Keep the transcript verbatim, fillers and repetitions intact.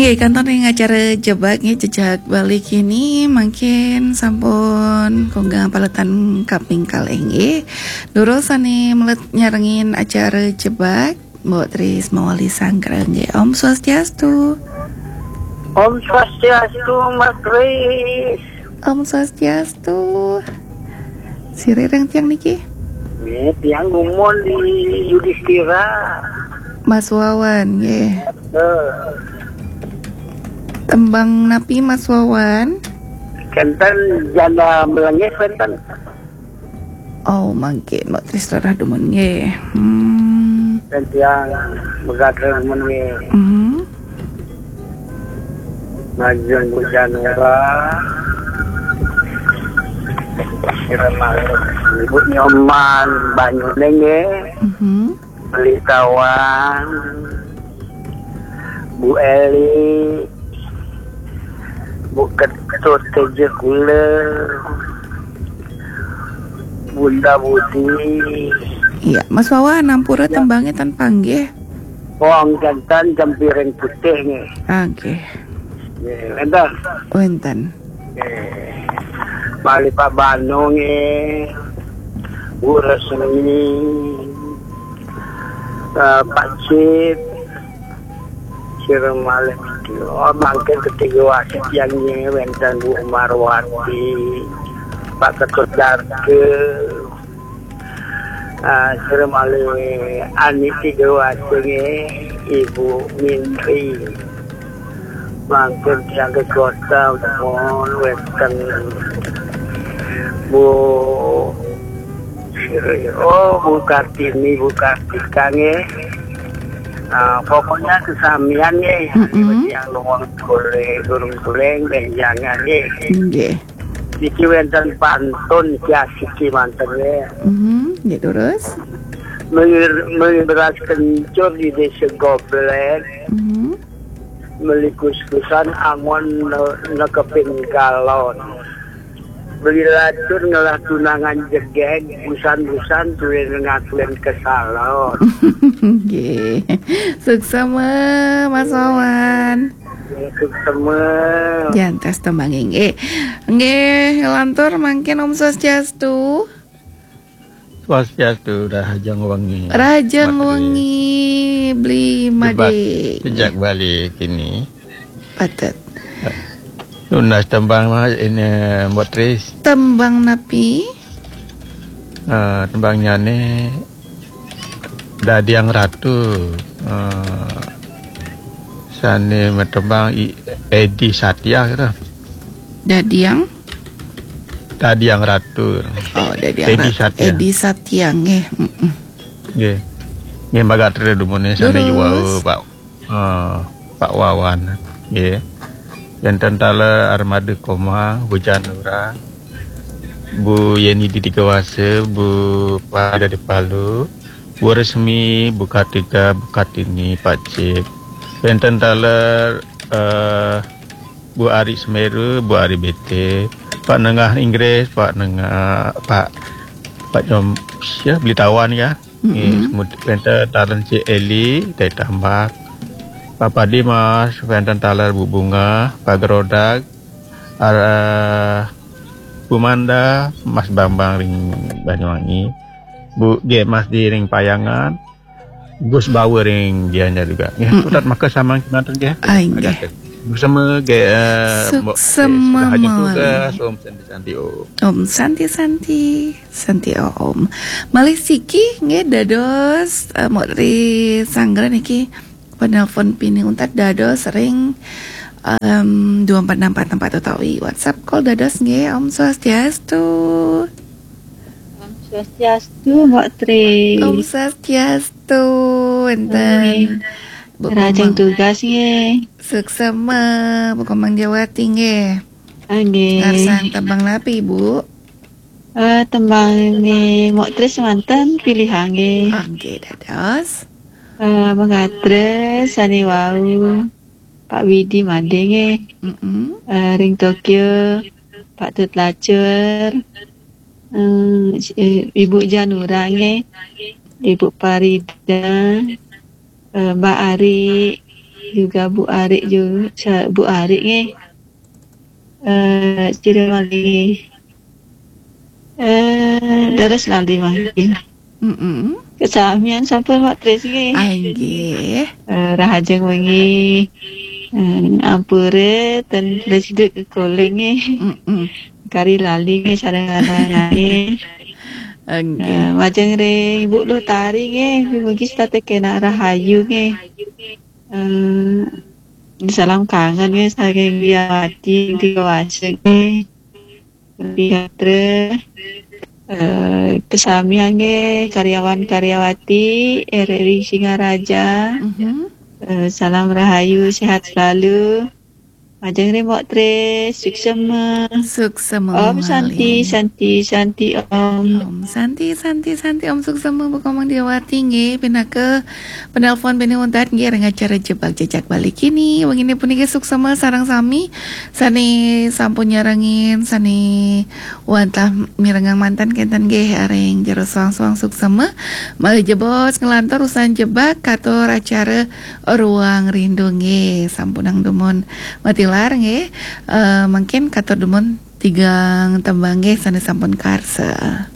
Oke, kantun ring acara Jebak nggih, jejak balik ini mangkin sampun konggang paletan kaping kalih nggih. Durus sane melet nyarengin acara Jebak, Mbok Tris mawali sanggra nggih. Om Swastiastu. Om Swastiastu, Mbok Tris. Om Swastiastu. Sira ring tiang niki? Nggih, tiang gumun di Yudhistira. Mas Wawan nggih. Eh, Tembang napi, Mas Wawan? Kenten janda melengis kenten. Oh, mangke Mbok Tris rerah dumun nggih. Hmm. Dan tiang megat dumun nggih. Hmm. Majeng hujan ora. Kira malam. Ibu Nyoman, banyu nggih. Mhm. Beli Tawang, Bu Eli, Bu Ketut, Teja Kula, Bunda Budi. Iya, Mas Wawan, ampura. Ya. Tembangnya tan panggih. Wong jantan jempiring putih nggih. Nggih. Nggih, wenten. Wenten. Nggih. Bali Pak Bano nggih. Bu Resmi. Eh, Pak Cip. Sira malih. Oh, mangke ketiga wasit yang nggih wenten Bu Marwati. Pak Ketut Darke. Ah, sira malih Ani Sidoarjo nggih, Ibu Mintri. Mangkin tiang ke kota mohon wenten Bu Sri, oh, Bu Kartini, Bu Kartika nggih. Ah, pokoknya kesamian nggih, mm-mm, yang luwung boleh, durung boleh, jangan nggih. Nggih. Niki wenten pantun kiasiki manten ya. Mhm, nggih terus. Mengir, mengir beras kencur di desa Goblet. Mhm. Meli kus-kusan angon ne, nekepin galon. Beli lacur ngelah tunangan jegeg, busan-busan tuwin ngakuin kesalon. Nggih. Suksema, Mas Wawan. Nggih, suksema. Jantos tembang nggih. Nggih, lantur mangkin Om Swastiastu. Swastiastu, rahajeng wengi. Rahajeng wengi, Beli Made. Jejak balik ini. Patut. Nunas tembang, Mas, ini, Mbok Tris. Tembang napi? Eh, tembangnyane Dadiang Ratu. Eh, sane matembang I-, Edi Satya gitu. Dadiang? Dadiang Ratu. Oh, Dadiang Edi Ratu. Satya. Edi Satya nggih. Mm-mm. Nggih. Nggih, magatra dumune sane. Terus? Yuwau, Pak, eh, Pak Wawan. Nggih. Wenten taler Armada Komang, Hujan Nura, Bu Yeni di Tiga Wase, Bu Pada di Palu, Bu Resmi, Bu Kartika, Bu Kartini, Pak Cip. Wenten taler, eh, Bu Ari Semeru, Bu Ari B T, Pak Nengah Inggris, Pak Nengah, Pak, Pak Jom, ya, Beli Tawan ya. Nggih, mm-mm. Semut wenten taler Cik Eli, Teh Tambak, Papa Dimas, wenten taler Bu Bunga, Pak Gerodak, ar-, Bu Manda, Mas Bambang ring Banyuwangi, Bu G Mas di ring Payangan, Gus Bawa ring Gianyar juga. Nggih, mm-mm, putat maka samang kemanten nggih. Ah, nggih. Bersama nggih, eh, Mbok, suksema, eh, sudah hajeng mawali tugas, Om Santi Santi Om. Om Santi Santi. Santi Om. Malih siki nggih dados, eh, Mbok Tri Sanggra niki penelpon pinih untat dados ring, em, dua empat enam empat empat utawi WhatsApp call dados nggih. Om Swastiastu. Om Swastiastu, Mbok Tri. Om Swastiastu, wenten. Nggih. Bu Rahajeng Komang. Tugas nggih. Suksema, Bu Komang Jawati nggih. Ah, nggih. Ngarsang tembang napi, Bu? Eh, tembang ni Mbok Tris manten pilihang nggih. Nggih, dados. Eh, magatra sane wau Pak Widi Made nggih. Mm-mm. Eh, ring Tokyo, Pak Tut Lacur, eh, eh, Ibu Janura nggih, Ibu Parida, eh, Mbak Ari, juga Bu Arik juga, Bu Arik nggih. Eh, sira malih nggih. Eh, leres lali mangkin. Mm-mm. Kesamian sampun Mak Tris nggih. Ah, inggih. Eh, rahajeng wengi. Eh, ampure ten leres kekoling nggih. Mm-mm. Kari lali nggih sareng anak-anak nggih. Inggih. Eh, majeng ring Ibu Lutari nggih, mugi setata kena rahayu nggih. Eh, salam kangen nggih saking Wiawati tiga Wasik nggih. Lebih gatra. Eh, kesamian nggih karyawan-karyawati R R I Singaraja. Mhm. Eh, salam rahayu, sehat selalu. Majeng ring Mbok Tris, suksema. Suksema Om Santi, malih. Santi, Santi Om. Om Santi, Santi, Santi, Om suksema Bu Komang Diawati nggih, pinaka penelpon bini untat nggih ring acara Jebak Jejak Bali kini. Wengine puniki suksema sareng sami sane sampun nyarengin, sane wantah mirengang manten kenten nggih ring jero suang-suang suksema. Malih jebos nglantur usan jebak katur acara Ruang Rindu nggih, sampunang dumun matilar nggih. Eh, mungkin katur dumun tigang tembang nggih sane sampun karsa.